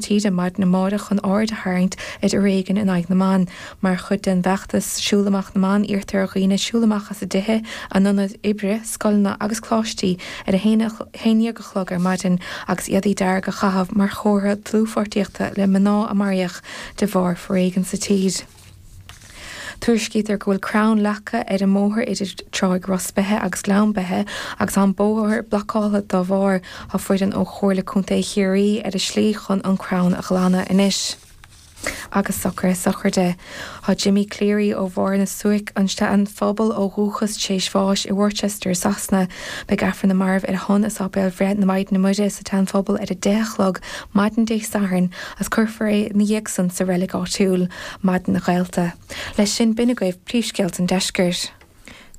Tíre maidin amárach chun aird a tharraingt ar fhoréigean in aghaidh na mban. Mar chuid den bhfeachtas Siúl Amach na mBan iarrtar ar dhaoine siúl amach as a dtithe, a n-ionaid oibre, scoileanna agus coláistí ar a 11 a chlog ar maidin agus éadaí dearga a chaitheamh mar chomhartha dlúthpháirtíochta le mná a maraíodh de bharr foréigin sa tír. Tuairiscítear go bhfuil crann leagtha ar an mbóthar idir Tráigh Ros Beithe agus Gleann Beithe agus tá an bóthar blocáilte dá bharr. Tá foireann ó Chomhairle Contae Chiarraí ar a slí chun an crann a ghlanadh anois. Agus socruithe sochraide. Tá Jimmy Cleary ó Bharr na Suaice, an tSean-Phobal ó dhúchas, tar éis bháis i Worcester, Sasana. Beidh Aifreann na Marbh ar a shon i Sáipéal Bhreith na Maighdine Muire sa tSean-Phobal ar 10 a chlog maidin Dé Sathairn agus cuirfear é ina dhiaidh san sa reilig áitiúil. Maidin a ghaolta. Leis sin, b'in agaibh príomhscéalta an deiscirt.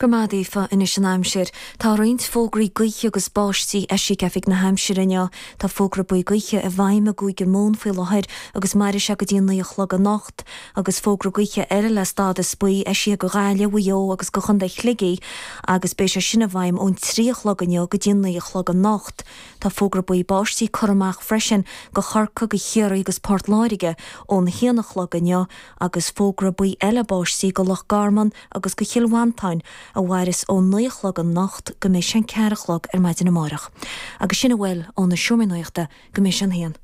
Go raibh maith agat Aoife. Anois an aimsir. Tá roinnt fógraí gaoithe agus báistí eisithe ag Oifig na hAimsire inniu. Tá fógra buí gaoithe i bhfeidhm i gCúige Mumhan faoi láthair agus mairfidh sé go dtí a 9 a chlog anocht. Agus fógra gaoithe eile le stádas buí eisithe go Ghaillimh, Mhaigh Eo agus go Chontae Shligigh agus beidh sé sin i bhfeidhm ón 3 a chlog inniu go dtí a 9 a chlog anocht. Tá fógra buí báistí curtha amach freisin go Chorcaigh, go Chiarraí agus Port Láirge ón haon a chlog inniu agus fógra buí eile báistí go Loch Garman agus go Chill Mhantáin a mhairfeas ón 9 a chlog anocht go mbeidh sé an ceathair a chlog ar maidin amárach. Agus sin a bhfuil ó na Seomraí Nuachta go mbeidh sé an haon.